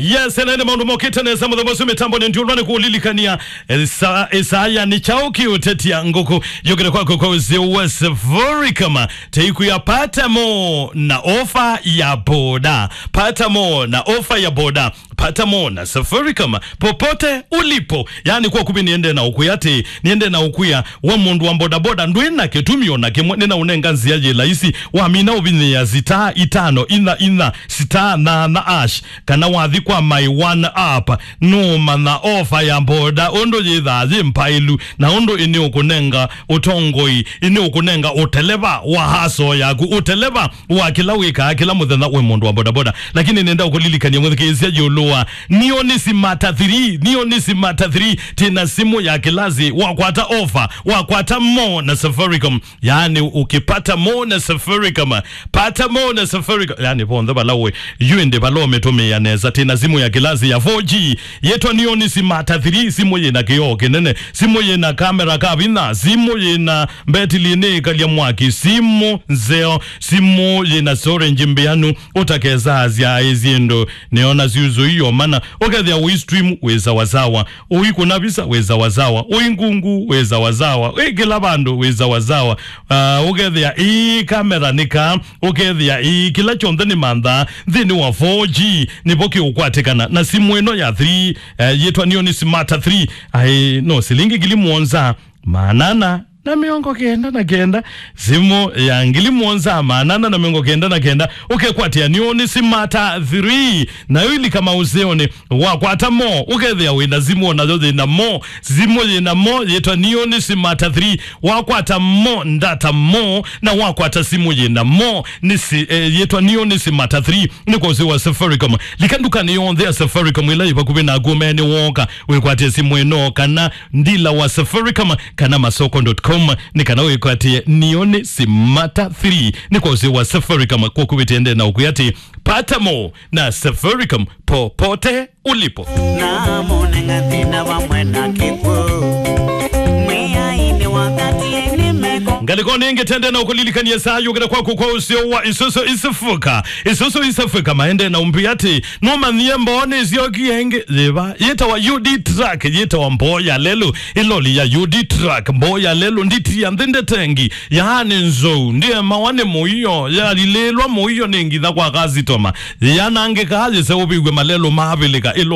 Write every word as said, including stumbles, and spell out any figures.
Yes, ena nĩ maũndũ mokĩte nesa mũthenya ũcio mĩtambo nĩ ndiũlwa nĩ kũlilikania. Esa-, Esaya nĩ kyaũ kĩũtetia ngũkũ yũkĩte kwaku kwa ũsĩ wa Safaricom. Teikuya pata mo na ofa ya boda. Pata mo na ofa ya boda. Pata mo na Safaricom popote ulipo. Yaani kwa kuvi niende na ukuya ati, niende na ukuya wa mũndũ wa bodaboda ndwĩ na kĩtumi o na kĩmwe, nĩna ũnenga nzĩa yĩ laisi. Wamina ũvinyĩa star itano inya inya star nana ash, kana wathi kwa My One app, nũũmanya ofa ya boda ũndũ yĩthaa yĩ mpaĩlu, na ũndũ ĩnĩ ũkũnenga ũtongoi, ĩnĩ ũkũnenga ũteleva wa haso yaku, ũteleva wa kĩla wĩkaa kĩla mũthenya wĩ mũndũ wa bodaboda. Lakini nenda ũkũlilikania mũthikĩĩsya yũlũ wa Neon Smart three, Neon Smart three, tĩna simũ ya kĩlasi, wakwata ofa, wakwata mo na Safaricom. Yaani, ukipata mo na Safaricom, pata mo na Safaricom. Yaani, vonthe vala wĩ, yu ĩndĩ vala ũmĩtũmĩa nesa. Tĩna simũ ya kĩlasi ya four G, yĩtwa Neon Smart three, simũ yĩna kĩoo kĩnene, simũ yĩna kamera ka vinya, simũ yĩna mbetili nĩ ĩkalya mwaki, simũ nzeo, simũ yĩna storage mbĩanu, ũtakesa asya aĩ syĩndũ, nĩona syuzu iyo mana, ũkethĩa ũi stream wĩ sawasawa, ũikũna visa wĩ sawasawa, ũi ngungu wĩ sawasawa, wĩ kĩla vandũ wĩ sawasawa. Ah, ũkethĩa ii kamera nĩ kaa, ũkethĩa ii kĩla kyonthe nĩ mantha nthĩnĩ wa four G, nĩvo kĩũkwatĩkana na simũ ĩno ya three, eh, yĩtwa Neon Smart three. Aĩ, no silingi ngili mũonza maana ana na mĩongo kenda na kenda, simũ ya ngili mũonza maana ana na mĩongo kenda na kenda, ũkekwatĩa Neon Smart three, nayo ilika maũseonĩ, wakwata mo, ũkethĩa wĩna simũ o nayo yĩna mo, simũ yĩna mo, yĩtwa Neon Smart three, wakwata mo, ndata mo, na wakwata simũ yĩna mo, nĩ si-, eh, yĩtwa Neon Smart three, nĩ kwa ũsĩ wa Safaricom. Lika ndukanĩ yonthe ya Safaricom ĩla yĩ vakuvĩ naku, ũmeene wooka, wĩkwatĩe simũ ĩno, kana ndila wa Safaricom, kana masoko dot com, nĩ kana wĩkwatĩe Neon Smart three, nĩ kwa ũsĩ wa Safaricom, kwa kuvĩtĩende na ũkwĩa atĩ, pata mo na Safaricom popote ulipo. Na mũnenga thĩna vamwe na kĩkw'ũ. Mwĩai nĩ wakati nĩ meko. Ngalĩko nĩngĩ tende na ũkũlilikania saa yũkĩte kwaku kwa ũseo wa Isuzu East Africa. Isuzu East Africa maende na ũmbĩ atĩ, nũmanyie mboo nĩsyokie ĩngĩ? Yĩva? Yĩtawa U D truck, yĩtawa mboo ya lelũ. Ĩloli ya U D truck, mboo ya lelũ, nditi ya nthĩ ndetengi. Yaani nzou, ndiemawa nĩ mũio, yalilĩlwa mũio nĩ ngitha kwa kasitoma. Yanangĩkaa yĩseũvĩw'e malelũ maavĩlĩka. Ĩloli